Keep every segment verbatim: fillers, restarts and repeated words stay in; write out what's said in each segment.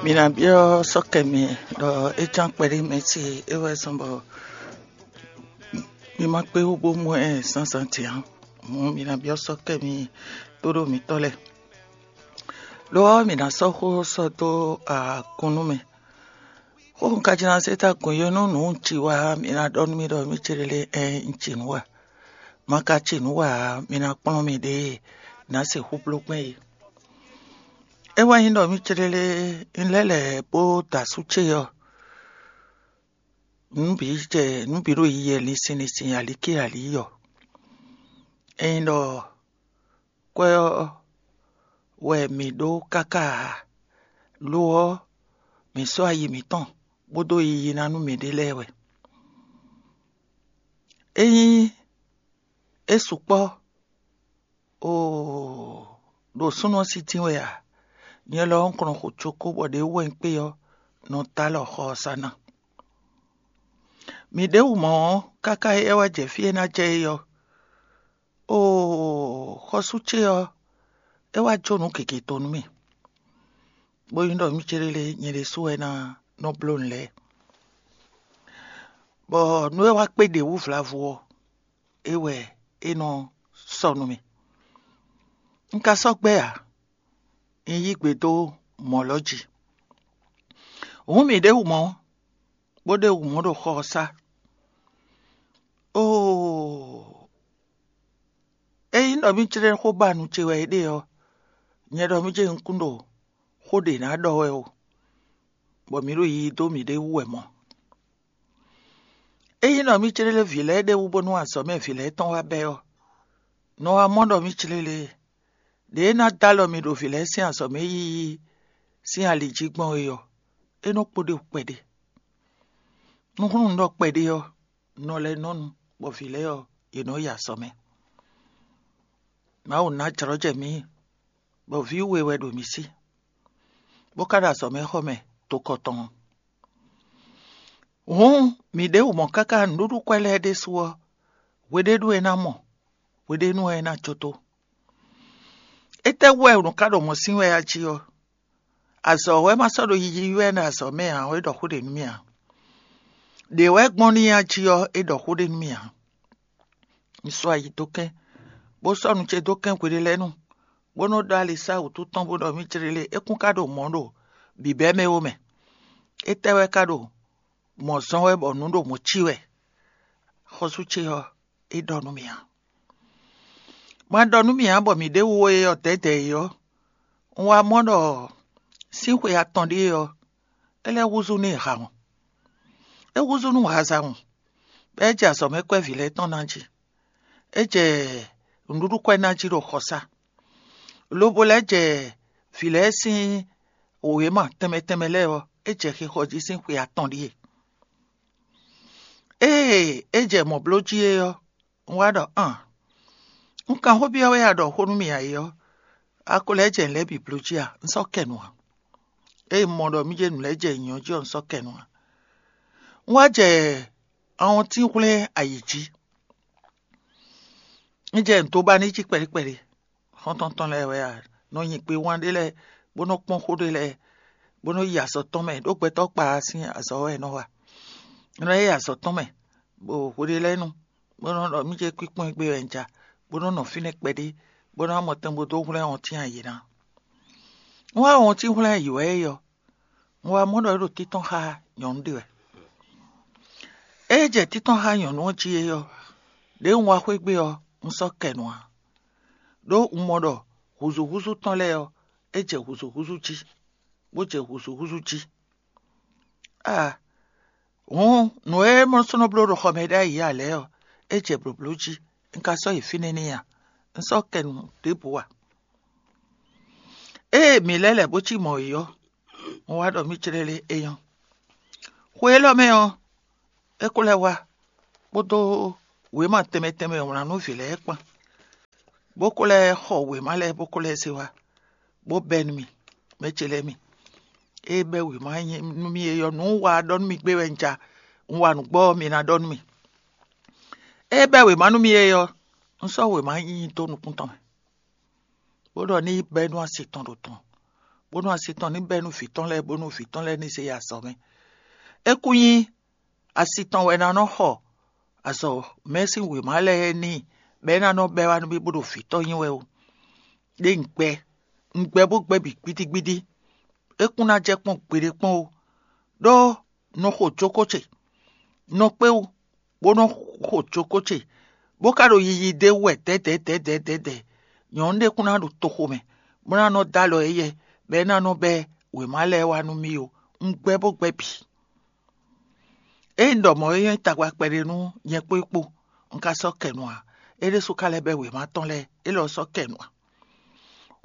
Mi ná byɔ́ sɔ́kɛ mi ɖɔ é cán kpɛɖé mɛ ce é wɛ zɔ́n bɔ mi ma kpé wú bó mɔ ɛ zǎnzǎn din ǎ. Hǔn mi ná byɔ́ sɔ́kɛ mi tóɖó mitɔ́ lɛ́ɛ. Lo ɔ́, mi ná sɔ́ xó sɔ́ dó akɔn nú mɛ. Xó un ka jló ná zé ta gun yó nú nǔ un ci wá, mi ná ɖɔ nú mì ɖɔ mì céɖélé ɛ́n un ci nǔ wá. Ma ka ci nǔ wá ǎ, mi ná kplɔ́n miɖée ná sixú bló gbɛn é. É wɛ nyí ɖɔ mì céɖélé un lɛ́ lɛ̌ bó da asú ce ɔ́, nǔ bǐ jɛ nǔ bǐ ɖo yiyi linsin linsin alíkí alí ɔ́. Ényí ɖɔ kwɛ́ ɔ́ wɛ mǐ ɖó káká ǎ; lo ɔ́, mǐ sɔ́ ayi mǐtɔn bó dó yiyi ná nú mǐɖée lɛ́ɛ wɛ. Ényí é sukpɔ́ oo, ɖo súnnu ɔ́ sí dín wɛ a? Nyɛ lɔ ɔ́, un kɔn nɔ xo cókó bɔ ɖě wú wɛ un kpé ɔ́, nɔ dó alɔ xɔ ɔ́ sá ná. Mǐ ɖěbǔ mɔ̌ ɔ́, káká é wá jɛ fí e ná jɛ é ɔ́, oo, xɔsú ce ɔ́, é wá jó nǔ gěgé tɔn nú mì, bó nyí ɖɔ mì céɖélé nyɛ ɖésú wɛ ná nɔ bló nǔ lɛ́ɛ, bɔ nú é wá kpé ɖě wú vlavo ɔ́, é wɛ é nɔ sɔ́ nú mì. Un ka sɔ́ gbɛ́ ǎ; un yí gbe dó mɔ̌ lɔ jí. Hǔn mǐ ɖěbǔ mɔ̌, bó ɖe wǔ mɔ ɖo xɔ ɔ́ sá. Oo, ényí ɖɔ mì jlɛ́ xó ba nu ce wɛ é ɖe ɔ́, nyɛ ɖɔ mì jɛ nukún ɖo xó ɖě ná ɖɔ wɛ o, bɔ mǐ ɖo yiyi dó mǐɖée wú wɛ mɔ̌. Ényí ɖɔ mì céɖélé vǐ lɛ́ɛ ɖe wú bónú azɔ̌ mɛ vǐ lɛ́ɛ tɔn wá bɛ́ ɔ́, nɔ wá mɔ ɖɔ mì céɖélé ɖě ná dó alɔ mi ɖo vǐ lɛ́ɛ sín azɔ̌ mɛ yiyi sín ali jí gbɔn é ɔ́, é nɔ kpo ɖe wú kpɛɖé. Nú hlún un ɖɔ kpɛɖé ɔ́, un nɔ lɛ́ nɔ nu, bɔ vǐ lɛ́ɛ ɔ́, yě nɔ yi azɔ̌ mɛ. Mawu ná jlɔ́ jɛ mǐ, bɔ vǐ we wɛ ɖo mǐ sí, bó ka ɖo azɔ̌ mɛ xɔ mɛ tokɔ tɔn. Hǔn mǐ ɖěbǔ mɔ káká nǔɖuɖu kwɛ́ lɛ́ɛ ɖésú ɔ́, hweɖénu é ná mɔ, hweɖénu ɔ́ é ná jó tó. Étɛ́ wú wɛ nǔ ka ɖo mɔ̌ sín wɛ a jí ɔ́? Azɔ̌ wɛ ma sɔ́ ɖo yiyi wɛ ɖo azɔ̌ mɛ ǎ, é ɖɔ xó ɖě nú mì ǎ. Ɖě wɛ gbɔn n'i a jí ɔ́, é ɖɔ xó ɖě nú mì ǎ. Un sɔ́ ayi dó kɛ́n, bó sɔ́ nu ce dó kɛ́n hweɖé lɛ́ɛ nu, bó nɔ́ ɖó alisá wǔtu tɔn bó ɖɔ mì céɖélé é kún ka ɖo mɔ̌ ɖo bǐbɛ́ mɛ ó mɛ. Étɛ́ wɛ ka ɖo mɔ̌ zɔ́n wɛ bɔ nǔ ɖo mɔ̌ cí wɛ? Xɔ́sú ce ɔ́, é ɖɔ nú mì ǎ. Ma ɖɔ nú mì ǎ bɔ mǐ ɖěbǔ é ɔ́ dɛ̌dɛ̌ é ɔ́, un wá mɔ ɖɔ sín xwe atɔn ɖíe ɔ́, é lɛ́ húzú nú hawun. É húzú nú hazawun, bɔ é jɛ azɔ̌ mɛ kwɛ́ vǐ lɛ́ɛ tɔn ná jí. É jɛ nǔɖuɖu kwɛ́ ná jí ɖo xɔsá, lobo lɛ́ jɛ vǐ lɛ́ɛ sín wěma tɛnmɛ tɛnmɛ lɛ́ɛ ɔ́, é jɛ xixɔ jí sín xwe atɔn ɖíe. Ée é jɛ mɔ̌ bló jí é ɔ́, un wá ɖɔ: "An, un kan xó byɔ́ we a ɖɔ xó nú mì ǎ é ɔ́, a ko lɛ́ jɛ nǔ lɛ́ɛ bǐ bló jí a? Un sɔ́ kɛ nu ǎ." Ée un mɔ ɖɔ mì jɛ nǔ lɛ́ɛ jɛ nyǐnyɔ́ jí ɔ́, un sɔ́ kɛ nu ǎ. Un wá jɛ awɔntín hwlɛ́n ayǐ jí. Un jɛ nǔ dó ba n'i jí kpɛɖé kpɛɖé. Xɔ́ntɔn tɔn lɛ́ɛ wɛ a nɔ nyi gbe wán ɖé lɛ́ɛ, bó nɔ́ kpɔ́n xó ɖé lɛ́ɛ, bó nɔ́ yi azɔ̌ tɔn mɛ, ɖó gbɛtɔ́ kpa sín azɔ̌ wɛ é nɔ wa. Un nɔ yi azɔ̌ tɔn mɛ, bó hweɖé lɛ́ɛ nu, bó nɔ́ ɖɔ mì jɛ kpíkpɔ́n gbé wɛ un ja, bó nɔ́ nɔ fínɛ́ kpɛɖé, bó nɔ́ mɔ tɛn bó dó hwlɛ́n wɔntín ayǐ ná. Un wá wɔntín hwlɛ́n ayǐ wɛ é ɔ́, un wá mɔ ɖɔ é ɖo títɔn xá nyɔ̌nu ɖé wɛ. Ée jɛ títɔn xá nyɔ̌nu ɔ́ jí é ɔ́, ɖěe un wá xwé gbé ɔ́, un sɔ́ kɛ nu ǎ. Ɖó un mɔ ɖɔ hǔzúhúzú tɔn lɛ́ɛ ɔ́, é jɛ hǔzúhúzú jí, bó jɛ hǔzúhúzú jí. Aa, hǔn nǔ e mɔ sɔ́ nɔ bló ɖo xɔ mɛ ɖ'ayǐ ǎ lɛ́ɛ ɔ́, é jɛ blǒbló jí; un ka sɔ́ yi fínɛ́ n'i a? Un sɔ́ kɛ nu ɖěbǔ ǎ. Ée mǐ lɛ́ lɛ̌ bó cí mɔ̌ é ɔ́, un wá ɖɔ mì clɛ́ lé é nyɔ́. Xwe élɔ́ mɛ ɔ́, é ko lɛ́ wá kpódó wěma tɛnmɛ tɛnmɛ e è wlǎn nú vǐ lɛ́ɛ kpán, bó ko lɛ́ xɔ wěma lɛ́ɛ bó ko lɛ́ zé wá, bó bɛ́ nú mì, mɛ ce lɛ́ɛ mi. Ée bɛ́ wěma nú mì é ɔ́, nǔ un wa ɖɔ nú mi gbé wɛ un ja; un wa nǔgbó ɔ́, mi ná ɖɔ nú mì. Ée bɛ́ wěma nú mì é ɔ́, un sɔ́ wěma nyi dó nukún tɔn mɛ, bó ɖɔ ní yi bɛ́ nú asi tɔn ɖo tɔn, bónú asi tɔn ní bɛ́ nú vǐ tɔn lɛ́ɛ, bónú vǐ tɔn lɛ́ɛ ní zé yi azɔ̌ mɛ. É kún nyí asi tɔn wɛ ná nɔ xɔ azɔ̌ mɛ sín wěma lɛ́ɛ n'i, bɔ é ná nɔ bɛ́ wá nú mì bó ɖo vǐ tɔn nyi wɛ ó. Ɖé un gbɛ, un gbɛ bó gbɛ bǐ gbídígbídí. É kún ná jɛ kpɔ́n gbeɖé kpɔ́n ó, ɖó nɔ xo jókó ce, nɔ kpé wú, bó nɔ xo jókó ce, bó ka ɖo yiyi d'é wú wɛ dɛ̌dɛ̌dɛ̌dɛ̌dɛ̌. Nyɔ̌nu ɖé kún ná ɖo toxo mɛ, bó ná nɔ dó alɔ éyɛ́, bɔ é ná nɔ bɛ́ wěma lɛ́ɛ wá nú mì ó. Un gbɛ bó gbɛ bǐ. Ényí un ɖɔ mɔ̌ é nyɔ́ tagba kpɛɖé nú nyɛ kpó é kpó, un ka sɔ́ kɛ nu ǎ; é ɖésú ka lɛ́ bɛ́ wěma tɔn lɛ́ɛ, é lɔ sɔ́ kɛ nu ǎ.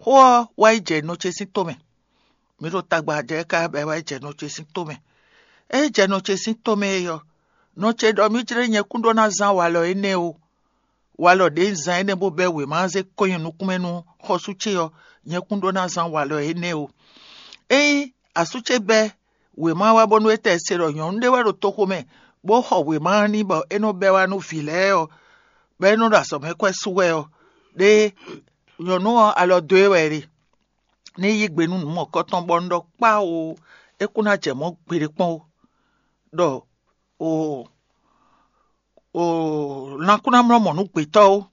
Xó ɔ́ wá yi jɛ nɔ ce sín tó mɛ. Mi ɖo tagba jɛ ká bɔ é wá yi jɛ nɔ ce sín tó mɛ. É yi jɛ nɔ ce sín tó mɛ é ɔ́, nɔ ce ɖɔ mì jlé nyɛ kún ɖó ná zán walɔ énɛ́ ó. Walɔ ɖě un zán énɛ́ bó bɛ́ wěma ɔ́ zé kɔn nyi nukúnmɛ nú xɔ́sú ce ɔ́, nyɛ kún ɖó ná zán walɔ énɛ́ ó. Ényí asú ce bɛ́ wěma wá bónú é tɛ se ɖɔ nyɔ̌nu ɖé wɛ ɖo toxo mɛ, bó xɔ wěma ɔ́ n'i bɔ é nɔ bɛ́ wá nú vǐ lɛ́ɛ ɔ́, bɔ é nɔ ɖo azɔ̌mɛkwɛ́ sú wɛ ɔ́, ɖé nyɔ̌nu ɔ́ alɔ dó e wɛ é ɖe. Ní yí gbe nú nǔ mɔ̌kɔtɔn bɔ un ɖɔ kpá o, é kún ná jɛ mɔ̌ gbeɖé kpɔ́n ó, ɖɔ o o lan kún ná mlɔ́ mɔ̌ nú gbětɔ́ ó.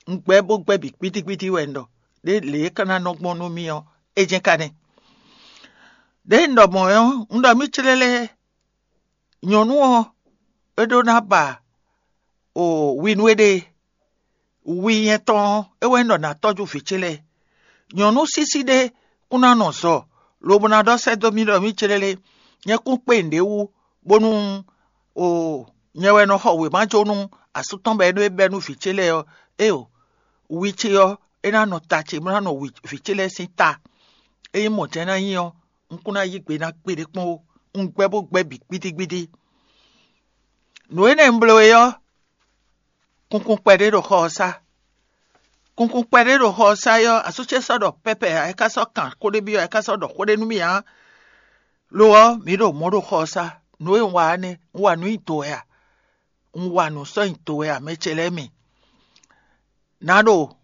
Un gbɛ bó gbɛ bǐ gbídígbídí wɛ un ɖɔ, ɖé lě e ka ná nɔ gbɔn nú mì ɔ́, é jɛ́n ka nɛ́. Ɖěe un ɖɔ mɔ̌ ɔ́, un ɖɔ mì clélé, nyɔ̌nu ɔ́, é ɖó ná ba o wi nú éɖée. Wi nyɛ tɔn ɔ́, é wɛ nyí ɖɔ nǎ tɔ́jú vǐ ce lɛ́ɛ. Nyɔ̌nu sísí ɖé kún ná nɔ zɔ, lobo ná ɖɔ sɛ́ dó mì ɖɔ mì clélé, nyɛ kún kpé nǔɖé wú, bónú o nyɛ wɛ nɔ xɔ wěma jó nú asú tɔn bɔ é nɔ é bɛ́ nú vǐ ce lɛ́ɛ ɔ́, éeǒ, wi ce ɔ́, é ná nɔ ta ce, bó ná nɔ wi- vǐ ce lɛ́ɛ sín ta. Ényí mɔ̌ jɛ́n ná nyí ɔ́, un kún ná yí gbe ná gbeɖé kpɔ́n ó. Un gbɛ́ bó gbɛ́ bǐ gbídígbídí. Nǔ énɛ́ un bló é ɔ́, kunkun kpɛɖé ɖo xɔ ɔ́ sá. Kunkun kpɛɖé ɖo xɔ ɔ́ sá é ɔ́, asú ce sɔ́ ɖɔ pɛ́pɛ ǎ, é ka sɔ́ kan xó ɖé byɔ́, é ka sɔ́ ɖɔ xó ɖé nú mì ǎ. Lo ɔ́, mǐ ɖo mɔ̌ ɖo xɔ ɔ́ sá. Nǔ e un wa ɔ́ nɛ́, un wa nǔ nyi do wɛ a? Un wa nǔ sɔ́ nyi do wɛ a, mɛ ce lɛ́ɛ mi? Nǎ ɖo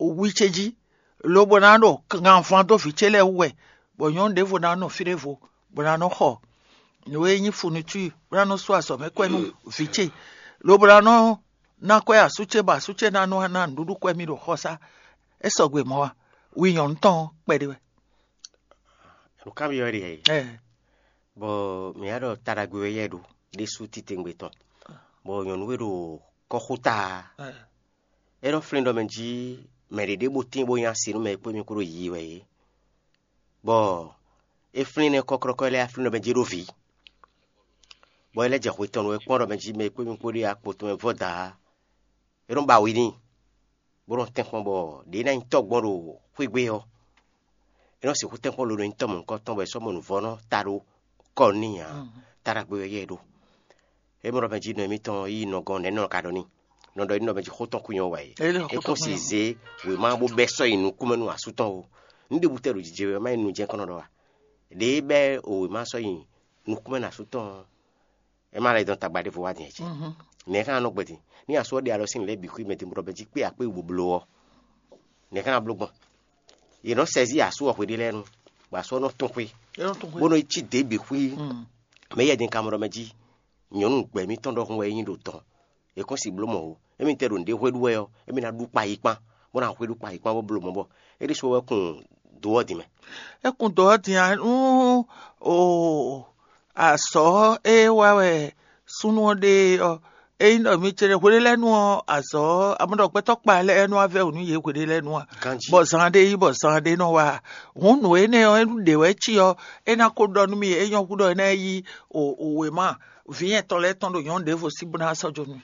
wi ce jí, lobo ná ɖo ganvan dó vǐ ce lɛ́ɛ wú wɛ, bɔ nyɔ̌nu ɖěvo ná nɔ fí ɖěvo, bó ná nɔ xɔ nǔ e nyí funutúi, bó ná nɔ sú azɔ̌ mɛ kwɛ́ nú vǐ ce, lobo ná nɔ ná kwɛ́ asú ce, bɔ asú ce ná nɔ ná nǔɖuɖu kwɛ́ mì ɖo xɔsá. É sɔgbe mɔ̌ a? Wi nyɔ̌nu tɔn ɔ́ kpɛɖé wɛ. Nǔkanbyɔ́ ɖe ɛ, Ɛ, bɔ mǐ wá ɖɔ taɖagbe wɛ yɛ ɖo ɖésú titewungbe tɔn, bɔ nyɔ̌nu e ɖo kɔ́xota ɛ, é nɔ flín ɖɔ mɛ jí mɛ ɖě ɖěbǔ tín bó nyí asi nú mɛ e kpó mì kúɖo yiyi wɛ é, bɔ é flín nɛ́ kɔ́klɔ́kɔ́ lɛ́ɛ flín ɖɔ mɛ jí ɖó vǐ, bɔ é lɛ́ jɛ hwe tɔn nú é kpɔ́n ɖɔ mɛ jí mɛ e kpó mì kpó ɖe akpo tɔn mɛ vɔ́ dǎ, é nɔ ba wi n'i, bó nɔ tɛ́nkpɔ́n bɔ ɖě ná nyí tɔ́gbɔn ɖo xwé gbe ɔ́, é nɔ sixú tɛ́nkpɔ́n loɖo nyí tɔ́ mɔ̌hunkɔtɔn bɔ è sɔ́ mɔ nǔvɔ́nɔ ta ɖó kɔ n'i ǎ. Taɖagbe wɛ yɛ ɖó. É mɔ ɖɔ mɛ jí nɔ émítɔn yí nɔ gɔ́n nɛ̌ nɔ ka ɖɔ n'i? Nɔ ɖɔ é nɔ mɛ jí xó tɔn kú nyɔ́ wá é. É kún si zě wěma bó bɛ́ sɔ́ yi nukúnmɛ nú asú tɔn ó. Nǔ ɖěbǔ tɛ́ ɖo jijɛ wɛ má nyí nu jɛ́n kɔn nɔ ɖɔ a? Ɖěe bɛ́ wěma sɔ́ yi nukúnmɛ nú asú tɔn ɔ́, é má lɛ́ dɔn tagba ɖěvo wá din ǎ cé? Nɛ̌ ká nɔ gbɛ́ din? Ní asú ɔ́ ɖe alɔ sín lě bǐ xwí mɛ din bó ɖɔ mɛ jí kpé akpé bó bló ɔ́, nɛ̌ ká ná bló gbɔn? Yě nɔ sɛzí asú ɔ́ hweɖé lɛ́ɛ nu, bɔ asú ɔ́ nɔ tún xwé, bó nɔ yi cí dě bǐ xwí. Mɛ yɛ din ka mɔ ɖɔ mɛ jí nyɔ̌nu gbɛ̌ mítɔn ɖɔhun wɛ é nyí ɖo dɔn. È kɔn si bló mɔ̌ ó. Émí tɛ ɖo nǔɖé hwé ɖu wɛ ɔ́, émí ná ɖu kpa yi kpán, bó ná hwé ɖu kpa yi kpán bó bló mɔ̌ bɔ é ɖésú wɛ kún dó ɔ́ din mɛ. É kún dó ɔ́ din ǎ nú o azɔ̌ e wá wɛ súnnu ɔ́ ɖe ɔ́, ényí ɖɔ mi ce hweɖé lɛ́ɛ nu ɔ́, azɔ̌ amɔ̌ ɖɔ gbɛtɔ́ kpa lɛ́ɛ nú avɛ́ wǔ nú yě hweɖé lɛ́ɛ nu a? Ganjí. Bɔ zan ɖé yí bɔ zan ɖé nɔ wá a? Hǔn nǔ énɛ́ ɔ́, é ɖě wɛ cí ɔ́, é ná ko ɖɔ nú mi, é nyɔ́ húɖɔ é ná yi o wěma vǐ nyɛtɔn lɛ́ɛ tɔn ɖo nyɔ̌nu ɖěvo sí bó ná sɔ́ jó nú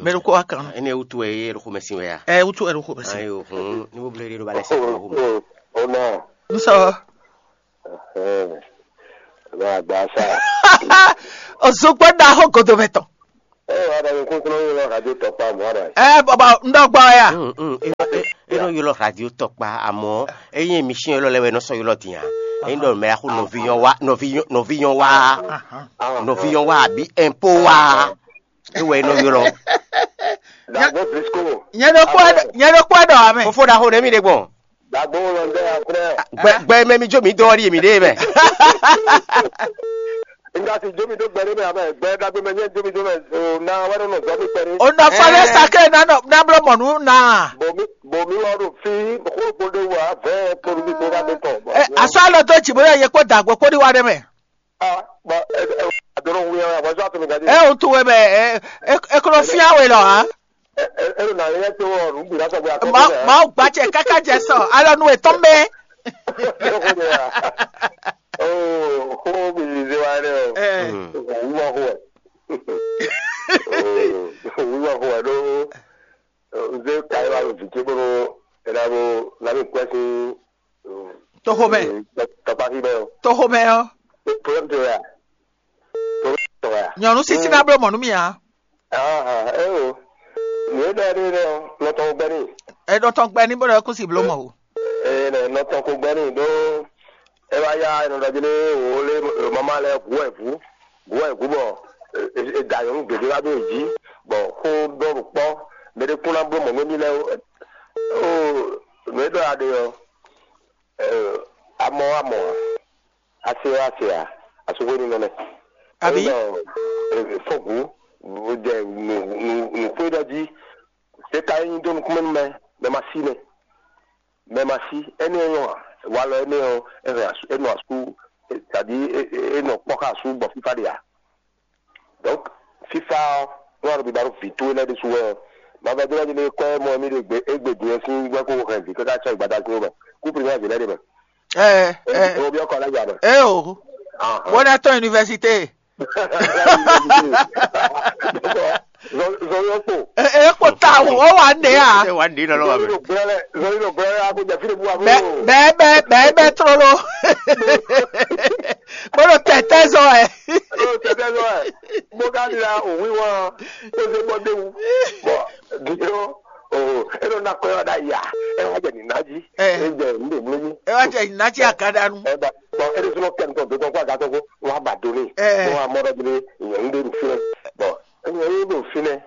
mɛ ɖokpó wá kan. Énɛ́ wútu wɛ é ɖo xomɛ sin wɛ a? Ɛ wútu wɛ ɖo xomɛ sin. Ayo, hǔn ní bó blé ɖé ɖó ba lɛ́ sɛ xomɛ. Ó ná. N sɔ. Ɛhɛn. Ɛ bá gba sa. Ozugbo ɖaxó godomɛ tɔn. Ɛ wà á dàgbé kúnkún ní lọ radio tɔkpa mọ́ ara. Ɛ bɔbɔ n dɔ gbɔ ya. Mm, mm, e nɔ- e- e nɔ ylɔ radio tɔkpa, amɔ eye mi si ylɔ lɛ wɛ nɔ sɔ ylɔ din a. Eyin dɔ mɛ axo nɔvi yɔn wa, nɔvi yɔn- nɔvi yɔn wa, nɔvi yɔn wa abi ɛnpo wa, e wɛ nɔ ylɔ. Dàgbé brisco. Nyɛ ɖo kpɔ nyɛ ɖo kpɔ ɖɔ amɛ. Fofo ɖaxo ɖe mi ɖe gbɔn. Dagbo lɔ ndɛ ya frɛ. Gbɛ gbɛ mɛ mi jó mi dɔ ɔ́ ɖi mi ɖe mɛ. Nga si jó mi dó gbɛ ɖé mɛ abɛ gbɛ dagbe mɛ nyɛ jó mi dó mɛ o na wɛ nɔ nɔ zɔ mi kpɛɖé. O nɔ fɔ ɖe sake na nɔ na blɔ mɔ nú na. Bomi bomi wɔ ɖo fi xó kpo ɖe wa vɛ kpo ɖo mi kpo ka ɖe tɔ. Ɛ asɔ alɔ dó dzi bó yɛ kpó dagbo kpó ɖi wa ɖe mɛ. Ah, ba ɛ ɛ adoro wu ya wa zɔ to mi gaji. Ɛ o tu wɛ mɛ ɛ ɛ klo fia wɛ lɔ ha. Ɛ ɛ ɛ na yɛ to ɔ nu bi la sɔ gbe akɔ. Mawu gba cɛ kaka jɛ sɔ alɔ nu etɔn mɛ. Ko de ya. Oh, ko bi ze wa ne o. Ɛ. Wu ma ko. Oh, wu ma ko do. Ze kai wa vi ke bro. Era bo la mi kwesi. Toxomɛ. Tɔkpaxi bɛ o. Toxomɛ ɔ. Problème tɛ ya. Problème tɛ ya. Nyɔnu sisi na bló mɔ nú mi a. Ah, eh o. Nǔ e ɖɔ ɖe ɖɔ nɔ tɔn gbɛ ní. Ɛ nɔ tɔn gbɛ ní bó ɖɔ kú si bló mɔ o. Ee nɛ nɔ tɔn ko gbɛ ní ɖó e wá yá e nɔ ɖɔ jí lé wò lé mama lɛ gu wɛ vú gu wɛ vú bɔ e da nyɔnu gěgé wá ɖó e jí bɔ xó ɖɔ ɖo kpɔ mɛ ɖé kún ná bló mɔ nú émí lɛ o. Nǔ e ɖɔ a ɖe ɔ, amɔ amɔ a ase ɔ ase a asúgbó nínú nɛ. Àbí? Fɔ́gǔ jɛ nǔxwé ɖɔ jí. Ɖé ka é nyí dó nukúnmɛ nú mɛ mɛ ma sí nɛ. Mɛ ma sí, énɛ́ nyɔ́ ǎ. Walɔ énɛ́ ɔ́, é hɛn asú, é nɔ asú, c'est-à-dire é nɔ kpɔ́ xá asú bɔ fífá ɖe ǎ. Donc fífá ɔ́, nú a ɖo biba ɖó vǐ towe lɛ́ɛ ɖésú wɛ ɔ́, ma vɛ́ dó lɛ́ ɖi nú é kɔ́ mɔ émí ɖe gbe égbé din ɔ́ sín gbɛ́ kó hɛn vǐ káká cɔ́ gbada sín wɛ mɛ. Kú primáa vǐ lɛ́ɛ ɖe mɛ. Ɛ ɛ Wo byɔ́ kɔ lɛ́ ya mɛ. Ɛ o. Bó ná tɔn université. Zɔyɔ kpo. Ɛ ɛ kpo ta o, ó wà ń ɖe à. Ẹ wá ní lọ́lọ́ wa Zɔyɔ mɛ. Ló gbẹ́rẹ́ zɔyɔ ló gbẹ́rẹ́ a kò jẹ́ fílẹ̀ bu wa. Bɛ bɛ bɛ bɛ bɛ trolo. Bolo tɛtɛ zɔ ɛ. Ó tẹ̀tẹ̀ lọ ẹ̀. Bó ká ní la òun wíwọ́n ó ṣe bọ́ déwu. Bọ̀ dìjọ́ o é ló ná kọ́ ẹ̀ wá dá yà ẹ̀ wá jẹ̀ nínú ají. Ẹ. Ẹ jẹ́ ń lè mú yín. Ẹ wá jẹ ìnájí àkàdánù. Ẹ bá bọ̀ ẹ lè sọ́nà kẹ́ni tó tó tó kó àga tó kó wọ́n á bà dóní. Ẹ. Wọ́n á mọ́rọ́ bí ìyẹn ń dé nù fínlẹ̀. Bọ̀ ìyẹn ń dé nù fínlẹ̀.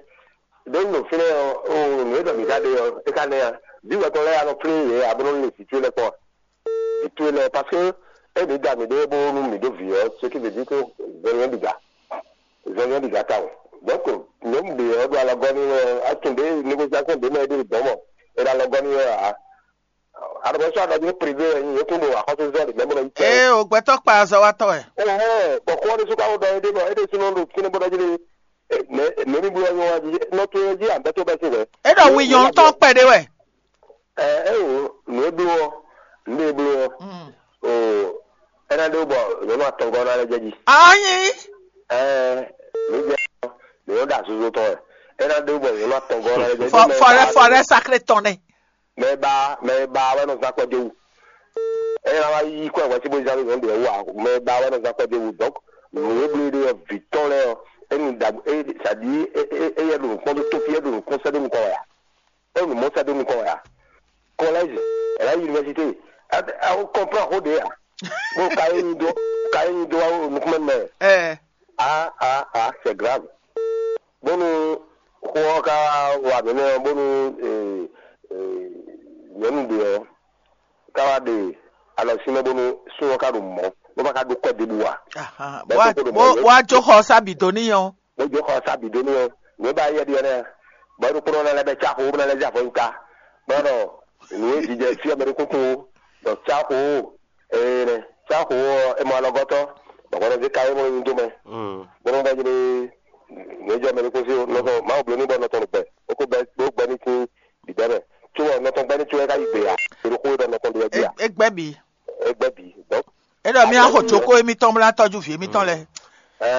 Dé nù fínlẹ̀ o nù é dọ̀ mí ká dé ọ é ká nẹ́ ya. Bí wọ́n tọ́ lẹ́yà lọ fínlẹ̀ yẹ abúlé lè fi tuyé lẹ kpọ́. Fi tuyé lẹ parce que ẹ ní dà mí dé bó nú mí dó vǐ ọ́ ce qui veut dire que zɔnyɛ bìgà zɔnyɛ bìgà ta o. Donc nyɔ̌nu bǐ ɔ́ ɖo alɔgɔ́ n'i wɛ ɔ́, a tunwun ɖě négosiasɔn ɖě mɛ e ɖo dɔ̌n mɔ è ɖo alɔgɔ́ n'i wɛ ǎ. Alɔbɔ́sɔ́ aɖɔví privé wɛ nyí yě kún ɖo axɔ́súzɔ́ ɖě mɛ bó nɔ yí kɛ. Ee, o gbɛtɔ́ kpa azɔwatɔ́ wɛ. Ɛhɛn, bɔ xó ɔ́ ɖésú ka ko ɖɔ éɖée bɔ é ɖésúnɔ ɖo fínɛ́ bó ɖɔ jí ɖé. Mɛ̌ mɛ̌ mì bló wɛ nyɔ́ wá jí? Nɔ towe jí a bɛ́ tó bɛ́ sín hwɛ̌. É ɖɔ wi nyɔ̌nu tɔn kpɛɖé wɛ. Ɛ é o, nǔ e bló ɔ́, nǔ e bló ɔ́, Mm. O, é ná ɖó bɔ nyɔ̌nu atɔngɔ́ ná lɛ́ jɛ jí. Anyi. Ɛ mǐ jɛ mǐ nɔ ɖo azozo tɔn wɛ. É ná ɖó bɔ nyɔ̌nu atɔngɔ́ ná lɛ́ jɛ jí. Fɔ Mɛ e fɔ ɖɛ ba fɔ ɖɛ sacré tɔn nɛ. Mɛ e ba mɛ e ba wɛ nɔ zán kɔ dó wú. É ná wá yí kɔ wɛ sí bó zán lé nyɔ̌nu ɖě wú ǎ. Mɛ e ba wɛ nɔ zán kɔ dó wú. Donc nǔ e bló ɖe ɔ́, vǐ tɔn lɛ́ɛ ɔ́, é nu ɖagbe é sadi é é é yɛ ɖo nǔkpɔ́n dó tófí é ɖo nǔkpɔ́n sɛ́ dó nukɔn wɛ ǎ. É nu mɔ̌ sɛ́ dó nukɔn wɛ ǎ. Collège, elle a université. Ɛ ɛ o comprend xó ɖě ǎ. Bó ka é nyi dó ka é nyi dó wá nukúnmɛ mɛ. Ɛ. Ah ah ah, c'est grave. Bónú xó ɔ́ ka wa nǔ nɛ́ ɔ́, bónú ee ee nyɔ̌nu ɖě ɔ́ ka wá ɖe alɔ sín mɛ bónú sún ɔ́ ka ɖo mɔ̌ bó ma ka ɖó kɔ́ ɖěbǔ ǎ. Ahan. Bɔ é Wá kókó ɖo mɔ̌ wá jó xɔ ɔ́ sá bǐ dó n'i ɔ́. Bó jó xɔ ɔ́ sá bǐ dó n'i ɔ́, nǔ e ba yɛ ɖi ɔ́ nɛ́, bɔ é ɖokpónɔ ná lɛ́ bɛ cá xo bó ná lɛ́ zé avɔ nyi ta. Bɔ nɔ nǔ e jijɛ fí ɔ́ mɛ ɖé kúkú ó, bɔ cá xo ó, ee nɛ cá xo ó ɔ́, é mɔ alɔgɔ́tɔ́, bɔ hwɛ nɔ zé ka é mɔ nyi dó mɛ, bó nɔ bɔ jlé nǔ e jɔ mɛ ɖé kún sí ó, nɔ tɔn Mawu bló ní bɔ nɔ tɔn ɖo gbɛ, é kó bɛ́ bó gbɛ́ ní sín bǐbɛ́ mɛ. Có ɔ́, nɔ tɔn gbɛ́ ní có wɛ ka yí gbe ǎ, è ɖo xó e ɖɔ nɔ tɔn ɖe wɛ jí ǎ, É gbɛ́ bǐ. É gbɛ́ bǐ. Donc, É ɖɔ mì wá xo jókòó émítɔn bó ná tɔ́jú vǐ émítɔn lɛ́ɛ. Ɛ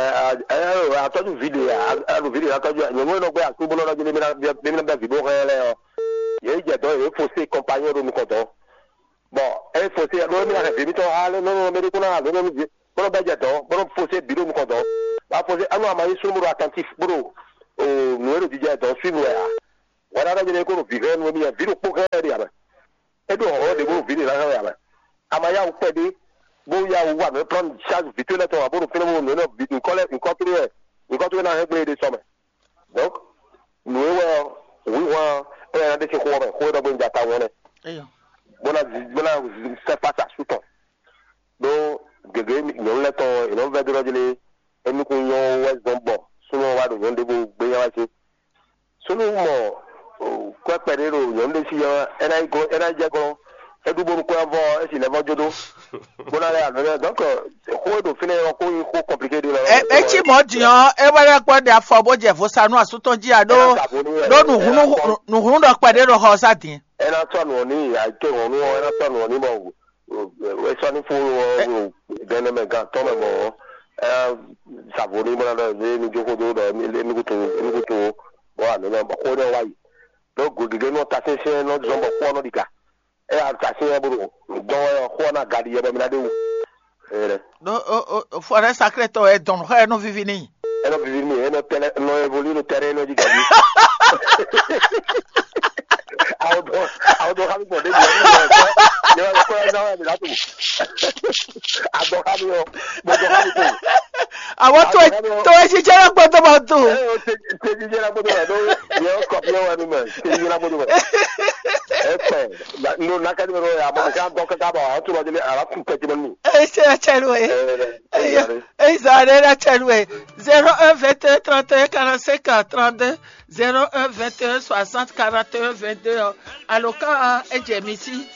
ɛ atɔ́jú vǐ ɖe aɖu vǐ ɖe atɔ́jú nyɔ̌nu e nɔ gbé asú bó nɔ ɖɔ jí mí ná bɛ́ vǐ bó hɛn lɛ́ɛ ɔ́, yě yi jɛ dɔ̌n yě fo sé kɔnpanyɔ́ ɖo nukɔn dɔ̌n. Bɔn é fo sé ɖó émí ná hɛn vǐ émítɔn ha lé nɔnɔ mɛ ɖé kó ná ha lǒ nɔnú vǐ bó nɔ bɛ́ jɛ dɔ̌n bó nɔ fo sé bǐ ɖo nukɔn dɔ̌n. Bá fo sé anú ama yí súnnu bó ɖo atɛntif bó ɖo nǔ e ɖo jijɛ dɔ̌n suivre wɛ ǎ. Hwɛɖaɖa jɛ́n é kó ɖo vǐ hɛn nú émí wɛ, vǐ ɖokpó hɛn ɖe ǎ mɛ. É ɖó hɔn ɖě bó ɖo vǐ ɖě ná hɛn wɛ ǎ mɛ. Ama yá wǔ kpɛɖé bó yá wǔ wa nǔ e plán charge vǐ towe lɛ́ɛ tɔn ǎ bó ɖo fínɛ́ bó ɖo nǔ énɛ́ bǐ nyǐkɔ lɛ́ɛ nyǐkɔ towe wɛ nyǐkɔ towe ná hɛn gblé ɖé sɔ mɛ. Donc nǔ e wɛ ɔ́, wǐhwan ɔ́, é wɛ ná ɖe sín xó ɔ́ mɛ, xó e ɖɔ gbé un ja tawun ɔ́ nɛ́. Eyɔ. bó ná bó ná sɛ́ fásitì asú tɔn. Ɖó gěgé nyɔ̌nu lɛ́ɛ tɔn è nɔ vɛ́ dó ɖɔ jlé émí kún nyɔ́ wɛ zɔn bɔ súnnu wá ɖo nyɔ̌nu ɖěvo gbé nyá wá sí. Súnnu mɔ kwɛ́kpɛ ɖé ɖo nyɔ̌nu ɖé sí ɔ́, é ná yi glɔ́ é ná yi jɛ glɔ́. É ɖu bónú kwɛ́ ɔ́ vɔ é si lɛ́ vɔ jó ɖó. Bó ná lɛ́ alo lɛ́ donc xó e ɖo fínɛ́ ɔ́ xó nyí xó kɔmplike ɖé lɔ. Etí mɔ̌ din ɔ́, é wɛ lɛ́ kpɔ́ ɖe afɔ bó jɛ vo sa nú asú tɔn jí ǎ ɖó. Ɖó nǔhúnú ɖɔ kpɛɖé ɖo xɔ ɔ́ sá din. É ná sɔ́ nǔ ɔ́ n'i àìtó ìrɔ̀nú ɔ́ é ná sɔ́ nǔ ɔ́ n'i bɔ é sɔ́ ní fún ɔ́ ɖo gɛnɛ mɛ gan tɔn mɛ mɔ ɔ́. Savo ní bɔlá ɖɔ emi ní jókòó dó ɖɔ emi kútu emi kútu bɔ àmì náà bɔ xó ní wá yi. Ɖó gògègé nɔ ta sɛnsɛn nɔ zɔn bɔ xó nɔ ɖi ga. É yà ta sɛn bro dɔn wɛ xó ná ga ɖi yɛ bɔ mi ná ɖe wú. Ɖó fɔrɛ sakré tɔ ɛ dɔn xɔ ɛ nɔ vivi n'i. Eno vivi mi eno tɛlɛ no evoli no tɛrɛ eno di gabi. Awo dɔ awo dɔ kami gbɔn de bi ɛni yɛ kɔ yɛ kɔ yɛ na wɛ mi la tu. Adɔ kami yɔ mo dɔ kami to. Àwọn tó tó ẹ ṣiṣẹ́ lọ́gbọ́n tó máa tó. Ẹ o tẹbi jẹ la gbọdọ wẹ do yẹ kọ fi wẹ nu mẹ tẹbi jẹ la gbọdọ wẹ. Ẹ pẹ no nakadi wẹ do yà mọ mi kàn dọ kẹkẹ bọ àwọn tó lọ délé àwọn tún tẹjú mọ mi. Ẹ ṣe ẹ ṣe lu ẹ. Ẹ ṣe ẹ ṣe lu ẹ. Zéro un vingt et un trente et un quarante-cinq trente-deux, zéro un vingt et un soixante quarante et un vingt-deux. Aloka ẹ jẹ mi sí.